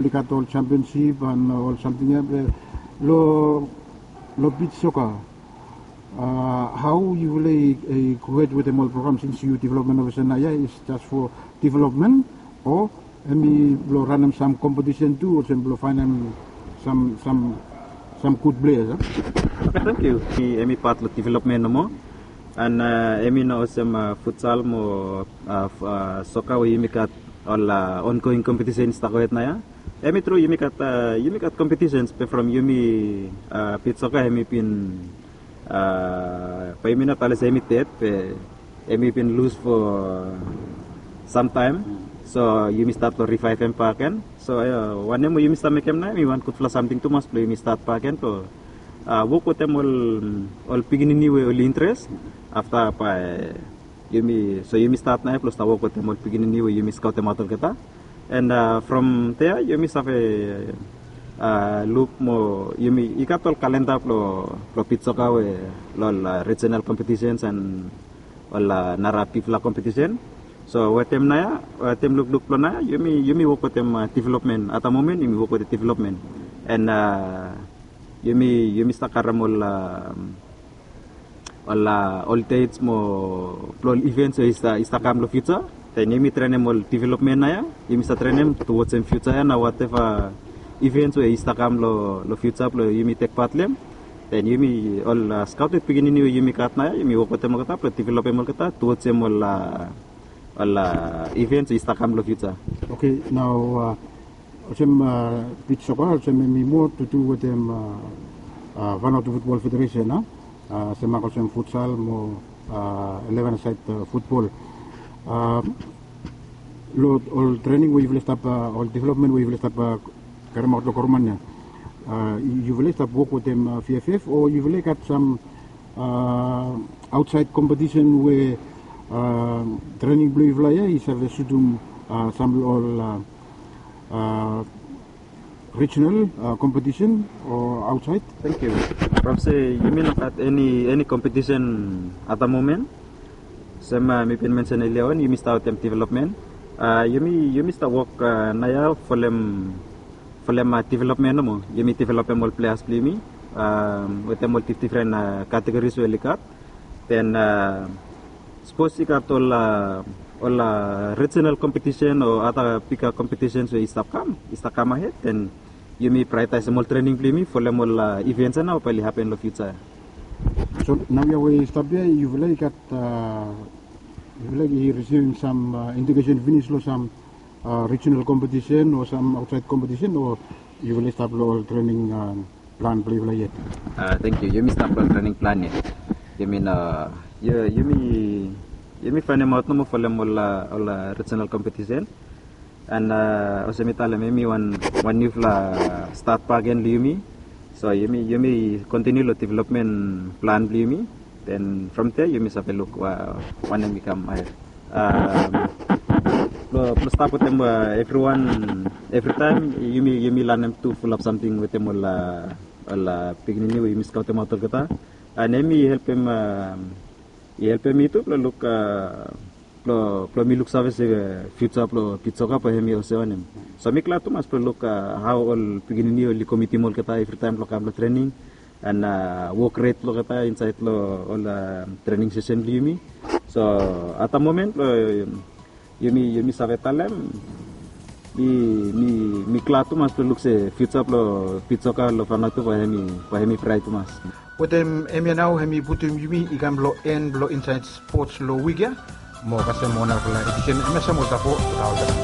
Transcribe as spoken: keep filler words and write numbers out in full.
oli gat ol championship and ol samting ia be long long beach soccer. Hau yufala i go hed wetem ol program since yu development officer naoia is just for development o hemi blong ranem sam kompetisen tu olsem blong faenem sam sam sam gud pleas a? Oke, tangkiu. Hemi pat long development nomo. And hemi no olsem futsal mo soka we yumi gat ol ongoing kompetisen i stap gohed naoia. Hemi tru yumi gat yumi gat kompetisens be from yumi beach soccer hemi bin bae yumi no talem se hemi ded be hemi bin lus fo samtaem. So yumi stat long rivaevem bakegen. So wanem we yumi stap mekem naoia hemi wan gudfala samting tumas blong yumi stat bakegen blong wok wetem ol ol pikinini we oli interes. Afta bae yumi so yumi stat naoia blong stap wok wetem ol pikinini we yumi skaotemaot olgeta. And from dea yumi save luk mo yumi i gat ol kalenda blong blong beach soccer we long ol rijonal kompetisens and ol nara bigfala kompetisen. So wetem naoia wetem lukluk blong naoia yumi yumi wok wetem developmen. At the moment yumi wok wetem developmen. And yumi yumi stap karem ol ol ol dets mo blong ol ivens we i stap kam long fiuja. Den yumi trenem ol developmen naoia yumi stap trenem towards em fiuja ia na wateva ivens we i stap kam long fiuja blong yumi tek pat long em. Den yumi ol skaoted pikinini we yumi gat naoia yumi wok wetem olgeta blong developem olgeta towards em ol ol ivens we i stap kam long fiuja. Oke, nao olsem beach soccer olsem hemi moa tu tu wetem Vanuatu Football Federation a, semak olsem futsal mo eleven a side futbol. Long ol trening we yufala i stap ol developmen we yufala i stap karemaot long goroman ia, yufala i stap wok wetem V F F o yufala i gat sam aotsaed kompetisen we trening blong yufala ia i save sutum sam long ol rijonal kompetisen o aotsaed? Tangkiu. From se yumi no gat eni eni kompetisen at the moment. Sem mi bin mensen elia on yumi stap wetem developmen. Yumi yumi stap wok naoia folem folem developmen nomo. Yumi developem ol pleas blong yumi wetem ol difdifren kategoris we oli gat. Den sapos i gat ol ol rijonal kompetisen o ada biga kompetisens we i stap kam i stap kam ahed den yumi praiotaesem ol trening blong yumi folem ol ivens ia nao bae oli hapen long fiuja ia. So naoia we i stap ia yufala i gat yufala i risivim sam indikesen finis long sam rijonal kompetisen o sam aotsaed kompetisen o yufala i stap long ol trening plan blong yufala yet? Tangkiu. Yumi stap long trening plan yet. Yumi no yumi yumi faenemaot nomo folem ol ol rijonal kompetisen. And olsem mi talem hemi wan wan niufala stat bakegen long yumi. So yumi yumi kontiniu long developmen plan blong yumi. Den from dea yumi save luk wanem i kam ahed. Blong stap wetem evriwan evritaem yumi yumi lanem tu fulap samting wetem ol ol pikinini we yumi skaotemaot olgeta. And hemi helpem i helpem mi tu blong luk blong blong mi luksave se fiuja blong beach soccer bae hemi olsem wanem. So mi glad tumas blong luk hao ol pikinini oli komitim olgeta evritaem blong kam long trening and wok ret blong olgeta insaed long ol trening sesen blong yumi. So at the moment blong yumi yumi save talem mi mi mi glad tumas blong luk se fiuja blong beach soccer long Vanuatu bae hemi bae hemi braet tumas. Wetem hemia nao hemi putum yumi i kam long en blong insaed spots long wik ya. Mo kasem mo narafala edisen hemia sam oltapo.